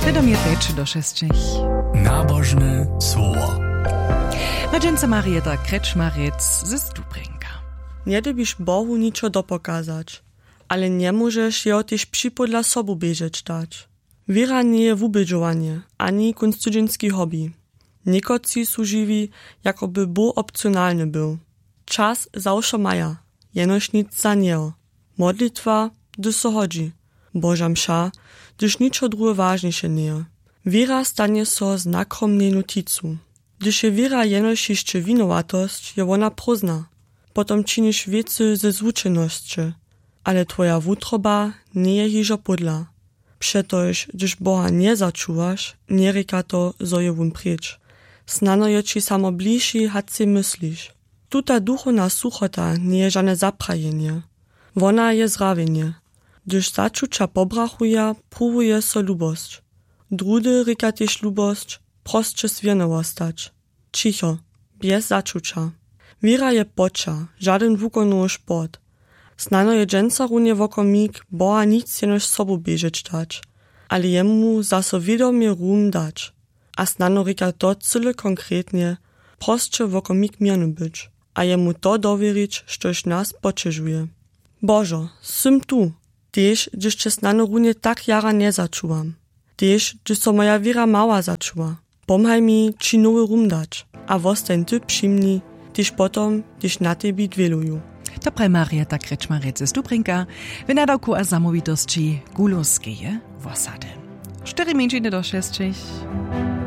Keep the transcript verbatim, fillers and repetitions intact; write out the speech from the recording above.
Sedom je pjeć do šesćich. Nabožne słowo. Na dźensa Marieta Krečmarjec ze Stubrjenka. Njedybiš Bohu ničo dopokazać, ale njemóžeš jeho tež připódla sobu běžeć dać. Wěra njeje wubědźowanje ani kónc tydźenski hobby. Někotři su žiwi, jako by Bóh opcionalny był. Čas zawšo maja, jenož nic za njeho. Modlitwa, hdyž so hodźi. Boža mša, hdyž ničo druhe wažniše njeje. Wěra stanje so znakom mnjenu ticu. Hdyž je wěra jenož hišće winowatosć, je wona prózdna. Potom činiš wěcy ze zwučenosće, ale twoja wutroba njeje hižo pódla. Přetož hdyž Boha njezačuwaš, njerěka to, zo je wón pryč. Snano je ći samo bliši hač sej mysliš. Tuta duchowna suchota njeje žane zaprajenje. Wona je zrawjenje. Hdyž začuća pobrachuja, pruwuje so lubosć. Druhdy rěka tež lubosć, prosće swěrny wostać. Ćicho, bjez začuća. Wěra je poća, žadyn wukonowy sport. Snano je dźensa runje wokomik Boha nic jenož sobu běžeć dać, ale jemu zaso wědomje rum dać. A snano rěka to cyle konkretnje, prosće wokomik měrny być a jemu to dowěrić, štož nas poćežuje. Božo, sym tu, tež hdyž će snano runje tak jara njezačuwam. Tež hdyž so moja wěra mała začuwa, pomhaj mi ći nowy rum dać a wostań ty při mni, tež potom, hdyž na tebi dwěluju. To praji Marieta Krečmarjec ze Stubrjenka w nadawku a zamołwitosći Gulowskeje wosady. Štyri mjeńšiny do šesćich.